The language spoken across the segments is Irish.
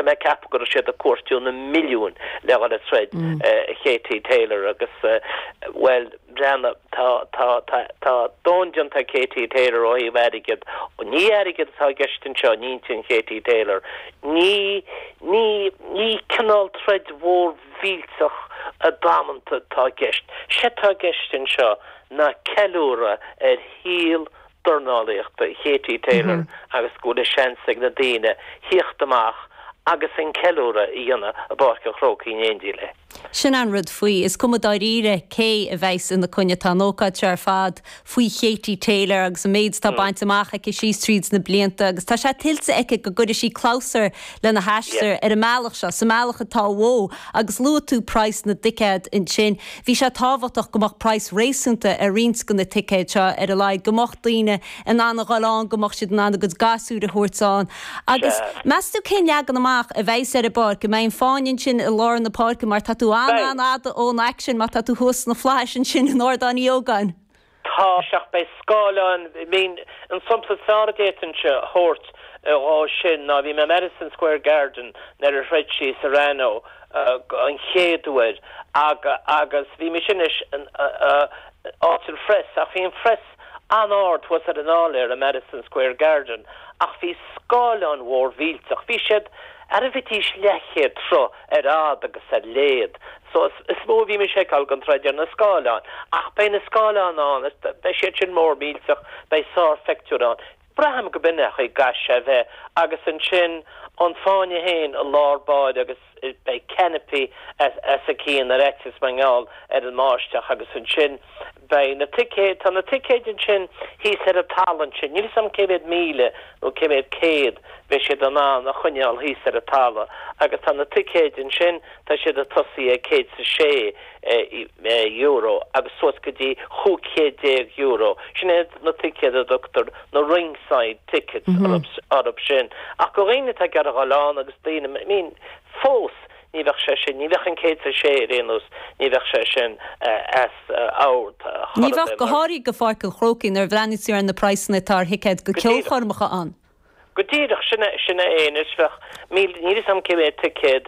mé ag ceapadh go raibh siad ag cuartú na milliúin le dhul ag troid Katie Taylor agus, bhuel, breathnaigh, tá, tá, tá, tá domhan déanta ag Katie Taylor ó thaobh airgead. Ní airgead atá i gceist anseo in intinn Katie Taylor. Ní, ní, ní cineál troid mhór mhillteach damanta atá i gceist. Sé atá i gceist anseo ná ceiliúradh ar shaol dornálaíochta Katie Taylor agus go bhfuil seans ag na daoine thíocht amach agus an ceiliúradh a dhéanamh i bPáirc an Chrócaigh in éindí léi. Sin an rud faoi. Is cuma dáiríre cé a bheas ina coinne. Tá an ócáid seo ar fad faoi Katie Taylor agus an méid atá bainte amach aici síos tríd na blianta agus tá sé tuillte aici go gcuirfidh sí clabhsúr lena haistear ar an mbealach seo, sa mbealach atá uaithi. Agus luaigh tú praghas na dticéad ansin. Bhí sé tábhachtach go mbeadh praghas réasúnta ar roinnt de na ticéid seo, ar a laghad, go mbeadh daoine in ann a dhul ann, go mbeadh siad in ann a gcuid gasúir a thabhairt ann. Agus meas tú cén leagan amach a bheas ar an bpáirc? An mbeidh an fáinne ansin i lár na páirce mar tá tú an-an-fhada ón aicsean má tá tú thuas sna flaithis ansin in Ardán Uí Ógáin? Tá, ach beidh scáileáin, I mean, an sampla is fearr a d'fhéadfainnse a thabhairt dhó sin ná bhí mé i Madison Square Garden nuair a throid sí Serrano an chéad uair agus bhí mise anois in áit an phress ach bhí an phress an-ard thuas ar an áiléar i Madison Square Garden ach bhí scáileáin mhór mhillteach, bhí siad, ara bheidís leathchéad troigh ar fhad agus ar léad. So is mó a bhí mise ag feiceáil den troid ar na scáileáin. Ach beidh na scáileáin ann, is beidh siad sin mór millteach, beidh sárphictiúr ann. Braithim go b'in é an chaoi a gcaithfidh sé a bheith. Agus ansin an fáinne féin i lár báire agus beidh canopy os a cionn ar fhaitíos mar gheall ar an mbáisteach agus ansin beidh na ticéid, tá na ticéid ansin thíos ar an talamh ansin, níl 'fhios a'm cé mhéad míle nó cé mhéad céad bheidh siad in ann a choinneáil thíos ar an talamh agus tá na ticéid ansin, tá siad ag tosaí ag €106 agus suas go dtí €15 Sin iad na ticéid a dtugtar na ringside tickets orthu sin. Ach go dhaoine atá ag iarraidh a dhul ann agus daoine, I mean, fós ní bheadh sé sin, ní bheadh an 106 ar aon nós, ní bheadh sé sin as ord chor Ní ar bheadh, bith go mar. háirithe go Pháirc an Chrócaigh nuair a bhreathnaíonn tú ar na praghsanna atá ar thicéid go Go díreach. ceolchoirmeacha ann. Go díreach, sin é, sin é anois, bheadh míle, níl 'fhios a'm cé mhéad ticéad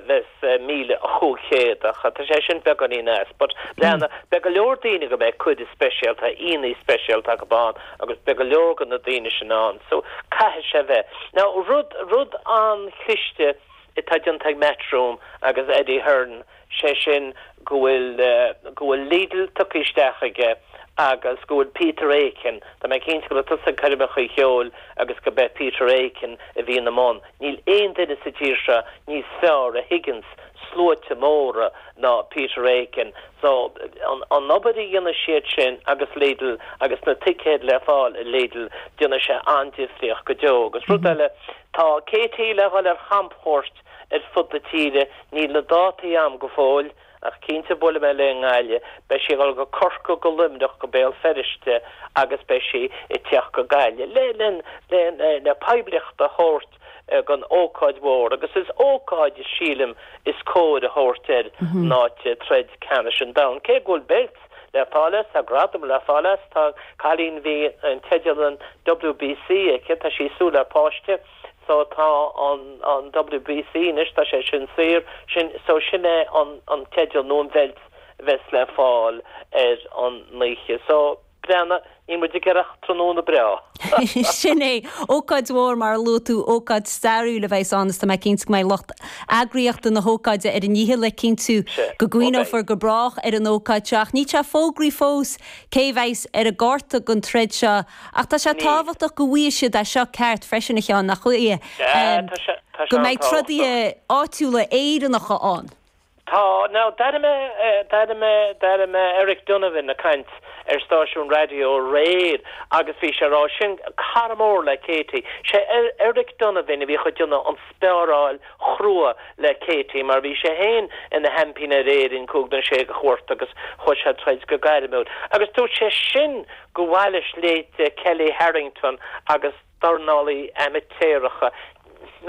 bheas 1,500 ach tá sé sin beagáinín as, but breathnaigh, beidh go leor daoine go mbeidh cuireadh speisialta, aíonna speisialta acu ann agus beidh go leor de na daoine sin ann, so caithfidh sé bheith. Now rud, rud an-chliste atá déanta ag Matchroom agus Eddie Hearn, sé sin go bhfuil, go bhfuil Lidl tugtha isteach aige agus go bhfuil Peter Aiken, tá mé cinnte go raibh tusa ag coirmeacha cheoil agus go b'é Peter Aiken a bhí ina mbun. Níl aon duine sa tír seo níos fearr a thuigeanns sluaite móra ná Peter Aiken. So, an, an obair a dhéanfaidh siad sin agus Lidl agus na ticéid le fáil i Lidl, déanfaidh sé an-difríocht go deo. Agus rud eile, tá Katie le dhul ar champchuairt ar fud na tíre. Níl na dátaí a'm go fóill, ach cinnte buailfidh mé léi i nGaillimh. Beidh sí ag dul go Corcaigh, go Luimneach, go Béal Feirste agus beidh sí ag teacht go Gaillimh le le le le poiblíocht a thabhairt don ócáid mhór agus is ócáid, sílim, is cóir a thabhairt air ná troid ceannais an domhain. Cé go bhfuil beilt le fáil as, tá gradam le fáil as, tá cailín bhí an teideal an WBC aici, tá sí ag súil le páiste. So tá an an WBC anois, tá sé sin saor, sin, so sin é an an teideal nó an bheilt a bheas le fáil ar an oíche. So, breathnaigh, níl muid ag iarraidh ach tráthnóna breá. Sin é. Ócáid mhór, mar a luaigh tú, ócáid stairiúil a bheas ann is tá mé cinnte go mbeidh lucht eagraíochta na hócáide ar a ndícheall le cinntiú go gcuimhneofar go brách ar an ócáid seo. Ach níl sé fógraithe fós cé a bheas ar an gcárta don troid seo Ach tá sé tábhachtach go bhfaighidh siad é seo ceart freisin, a Sheáin, nach bhfaighidh? Go mbeidh trodaithe áitiúla Éireannacha ann. Tá. Now, d'airigh mé, d'airigh mé, d'airigh mé Eric Donovan ag caint ar stáisiún raidió aréir agus bhí sé ag rá, sin cara mór le Katie, sé Eric Donovan a bhíodh ag déanamh an speáráil chrua le Katie mar bhí sé féin ina sheaimpín ar Éirinn cúig nó sé de chuairt agus chuaigh sé ag troid go gairmiúil agus dúirt sé sin gur mhaith leis leithéid Kellie Harrington agus dornálaí amaitéaracha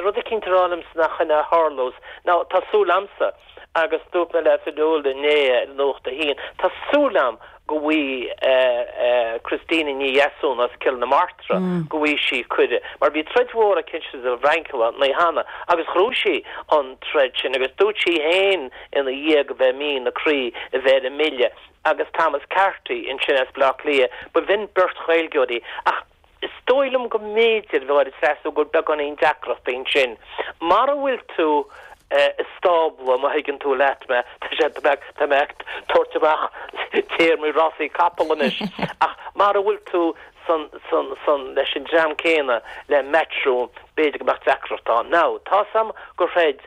rud eicínt a rá liomsa nach shin a tharlós. Now tá súil a'msa, agus dúirt mé le Fionnuala inné ar Nuacht a hAon, tá súil a'm. Go bhfaighidh Christina Ní Dheasún as Cill na Martra, go bhfaighidh sí cuireadh. Mar bhí troid mhór aici sa bhFrainc an lá cheana agus ghnóthaigh sí an troid sin agus dúirt sí féin ina dhiaidh go bheith mian a croí a bheith ar an mbille agus Thomas Carty ansin as Baile Átha Cliath. B'in beirt Ghaeilgeoirí ach Is dóigh liom go mb'fhéidir, a Mháire Treasa, go bhfuil beagáinín deacrachtaí ansin. Mara bhfuil tú i stábla, má thuigeann tú leat mé, tá sé, tá mé, tá mé ag tabhairt amach téarmaí rásaí capall anois, ach mara bhfuil tú san, san, san, leis an dream céanna le Matchroom, b'fhéidir go mbeadh deacracht ann. Now, tá's a'm gur throid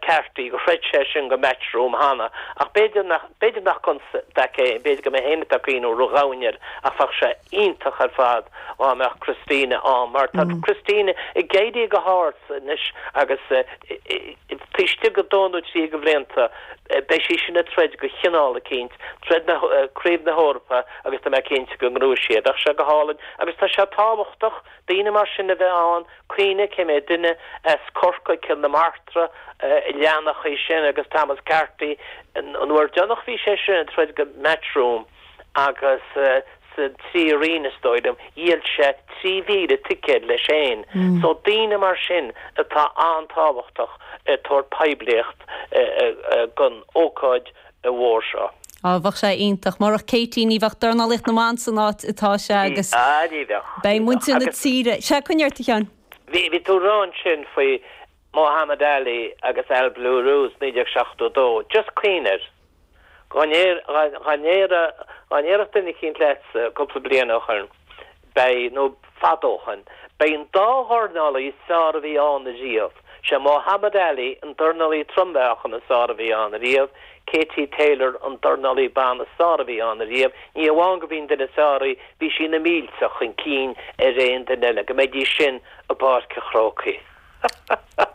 Carty, gur throid sé sin go Matchroom cheana, ach b'fhéidir nach, b'fhéidir nach constaic é, b'fhéidir go mé féin atá ag cuimhniú ródhomhain air, ach bheadh sé iontach ar fad dhá mbeadh Christina ann, mar tá Christina ag éirí go hard anois agus taobh istigh de dó nó trí de bhlianta beidh sí sin ag troid go chineál eicínt, troid na, Craobh na hEorpa agus tá mé cinnte go ngnóthóidh sí é. Bheadh sé go hálainn agus tá sé tábhachtach daoine mar sin a bheith ann, Cuimhnigh cé mhéad duine as Corcaigh, Cill na Martra a leanfadh í sin agus Thomas Carty. An uair deireanach bhí sé sin ag troid go Matchroom agus sa trí roinn is dóigh liom, dhíol sé 3,000 ticéad leis féin. So daoine mar sin atá an-tábhachtach ag tabhairt poiblíocht don ócáid mhór seo. Á, bheadh sé iontach. Murach Katie ní bheadh dornálaíocht na mban san áit atá sé agus Á, ní bheadh. beidh muintir na tíre. Sea, coinnigh ort, a Sheáin. Bhí, bhí tú ag rá ansin faoi Muhammad Ali agus Al Blue Rose 1972. Just cuimhnigh air. Dá ndéar, dá ndéarfadh, dá ndéarfadh duine eicínt leatsa cúpla bliain ó shoin, Beidh, nó fada ó shoin, beidh an dá dhornálaí is fearr a bhí ann ariamh, sé Muhammad Ali an dornálaí trom-mheáchan is fearr a bhí ann ariamh, Katie Taylor an dornálaí ban is fearr a bhí ann ariamh, ní amháin go b'í an duine is fearr í, bhí sí na mílte chun cinn ar aon duine eile, go mbeidís sin i bPáirc an Chrócaigh.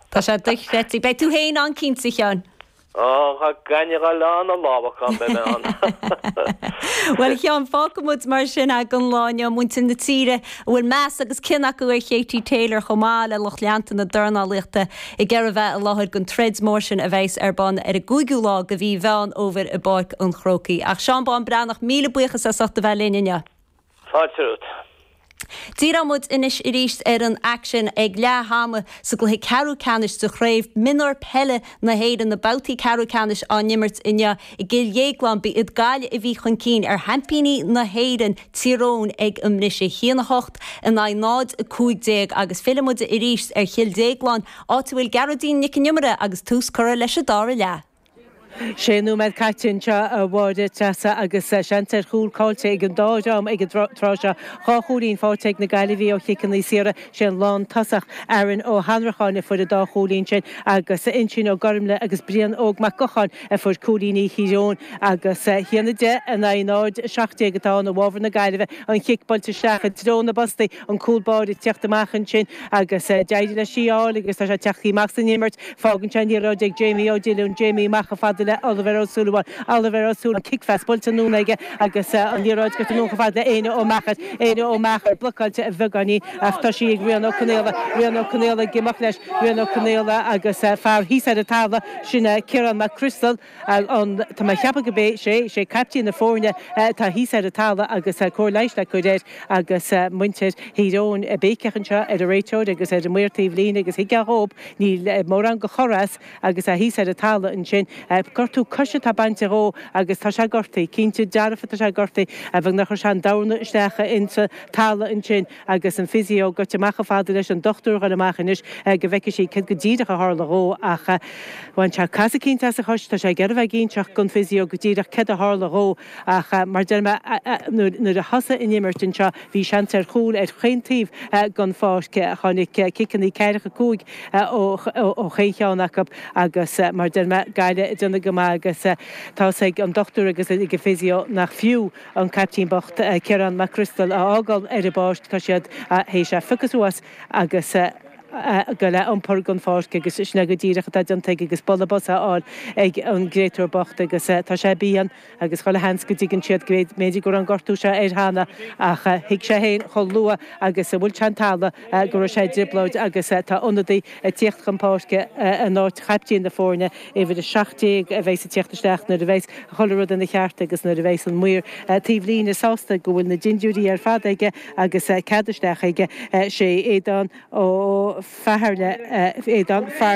Tá sé dochreidte. Beidh tú féin ann cinnte, a Sheáin. Ó, dá gcaithfinn a dhul ann a lámhach ann, beidh mé ann. Bhuel, a Sheáin, fágfaidh muid mar sin é don lá inniu. Muintir na tíre a bhfuil meas agus cion acu ar Katie Taylor chomh maith le lucht leanta na dornálaíochta ag iarraidh a bheith i láthair don troid mór sin a bheas ar bun ar an gcúigiú lá de mhí Mheán Fhómhair i bPáirc an Chrócaigh. Ach Seán Bán Breathnach, míle buíochas as ucht a bheith linn inniu. Fáilte romhat. Díreoidh muid anois arís ar an aicsean ag leath ama sa gcluiche ceathrú ceannais de Chraobh Mionúr Peile na hÉireann, na babhtaí ceathrú ceannais á n-imirt inniu i gCill Dhéagláin. Ba iad Gaillimh a bhí chun cinn ar sheaimpíní na hÉireann, Tír Eoghain, ag an mbriseadh, 1-8 in aghaidh 0-15 agus fillfidh muid arís ar Chill Dhéagláin, áit a bhfuil Gearóidín Nic an Iomaire agus tús curtha leis an dara leath. Sé nóiméad caite anseo a Mháire Treasa agus seans ar chúl caillte ag an dá dhream ag an tráth seo. Dhá chúilín faighte ag na Gaillimhigh ó chiceanna saora. Sé an lántosach Aaron Ó hAnnracháin a fuair an dá chúilín sin agus Uinseann Ó Gormlaith agus Brian Óg Mac Gocháin a fuair cúilíní Thír Eoghain agus 1-10 in aghaidh 0-17 atá ann i bhfabhar na Gaillimhe. An chic buailte isteach i dtreo na bpostaí. An cúl báire ag teacht amach ansin agus d'éirigh leis í a fháil agus tá sé ag teacht amach san imirt. Fágann sé an liathróid ag Jamie Ó Dillúin. Jamie amach chomh fada le Oliver Ó Súilleabháin. Oliver Ó Súilleabháin, cic-phas buailte anonn aige agus an liathróid gaibhte anonn chomh fada le Éanna Ó Meachair. Éanna Ó Meachair blocáilte a bheagáinín ach tá sí ag Rian Ó Conaola. Rian Ó Conaola ag imeacht leis. Rian Ó Conaola agus fear thíos ar an talamh, sin Ciarán Mac Criostail. An, tá mé ag ceapadh go b'é, sé, sé caiptín na foirne atá thíos ar an talamh agus cóir leighis le cur air agus muintir Thír Eoghain ag béiceach anseo ar an réiteoir agus ar an maor taobh líne agus thuigfeá dhób, níl mórán go chor as agus é thíos ar an talamh ansin. Gortú coise atá bainte dhó agus tá sé gortaithe, cinnte dearfa tá sé gortaithe, bheag nár chuir sé an dorn isteach insa talamh ansin. Agus an physio gaibhte amach chomh fada leis an dochtúir a dhul amach anois go bhfeicfidh sí céard go díreach a tharla dhó ach bhain sé casadh eicínt as a chois, tá sé ag iarraidh a bheith ag inseacht don physio go díreach céard a tharla dhó ach mar deir mé nuair a thosaigh an imirt anseo bhí seans ar chúl ar chaon taobh den pháirc. Tháinig ciceanna ceathracha 5 ó chaon cheann acu agus mar deir mé Gaillimh ag déanamh go maith agus tá's ag an dochtúir agus ag an physio nach fiú an caiptín bocht, Ciarán Mac Criostail, a fhágáil ar an bpáirc. Tá siad théis é a phiocadh suas agus. a ghoil a iompar den pháirc agus sin é go díreach atá déanta aige agus bualadh bos á fháil ag an gcréatúr bocht agus tá sé bíonn agus chuile sheans go dtuigeann siad go mb'fhéidir go raibh an gortú seo air cheana ach thuig sé féin chomh luath agus a bhuail sé an talamh go raibh sé i dtrioblóid agus tá ionadaí ag tíocht chun páirce in áit chaiptín na foirne, uimhir 17 a bheas ag tíocht isteach nuair a bheas chuile rud ina cheart agus nuair a bheas an maor taobh líne sásta go bhfuil na dindiúirí ar fad aige agus cead isteach aige. Sé Aodán Ó Fatharla, Aodán Farrelly.